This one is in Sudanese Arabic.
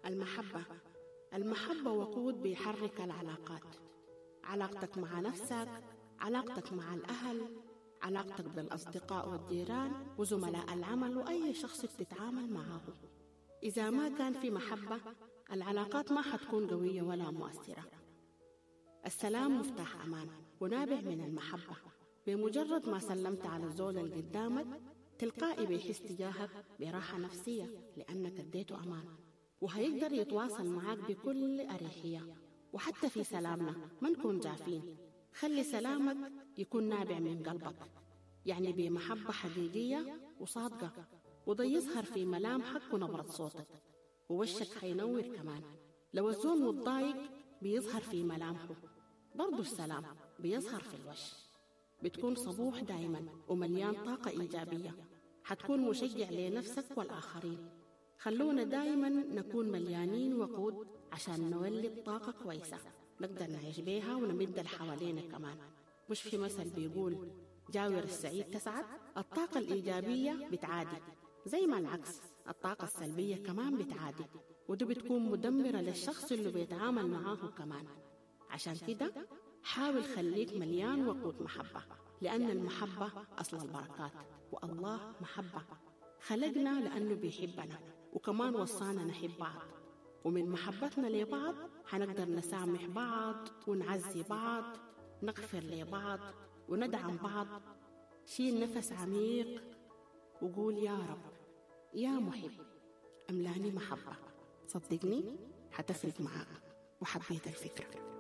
المحبة. المحبة وقود بيحرك العلاقات، علاقتك مع نفسك، علاقتك مع الأهل، علاقتك بالأصدقاء والجيران وزملاء العمل وأي شخص بتتعامل معه. إذا ما كان في محبة، العلاقات ما حتكون قوية ولا مؤثرة. السلام مفتاح أمان ونابع من المحبة. بمجرد ما سلمت على الزول اللي قدامك، تلقائي بيحس تجاهك براحة نفسية لأنك اديته أمان، وهيقدر يتواصل معاك بكل أريحية. وحتى في سلامنا ما نكون جافين، خلي سلامك يكون نابع من قلبك، يعني بمحبة حقيقية وصادقة، وده يظهر في ملامحك ونبرة صوتك، ووشك حينور كمان. لو الزول متضايق بيظهر في ملامحه، برضو السلام بيظهر في الوش. بتكون صبوح دايما ومليان طاقة إيجابية، حتكون مشجع لنفسك والآخرين. خلونا دايما نكون مليانين وقود عشان نولد طاقة كويسة نقدر نعيش بيها ونمد اللي حوالينا كمان. مش في مثل بيقول جاور السعيد تسعد؟ الطاقة الإيجابية بتعادي، زي ما العكس الطاقة السلبية كمان بتعادي، وده بتكون مدمرة للشخص اللي بيتعامل معاه كمان. عشان كده حاول خليك مليان وقود محبة، لأن المحبة أصل البركات، والله محبة. خلقنا لأنه بيحبنا، وكمان وصانا نحب بعض، ومن محبتنا لبعض حنقدر نسامح بعض ونعزي بعض، نغفر لبعض وندعم بعض. شيل نفس عميق وقول يا رب يا محب أملاني محبة، صدقني حتفرق معاك. وحبيت الفكرة.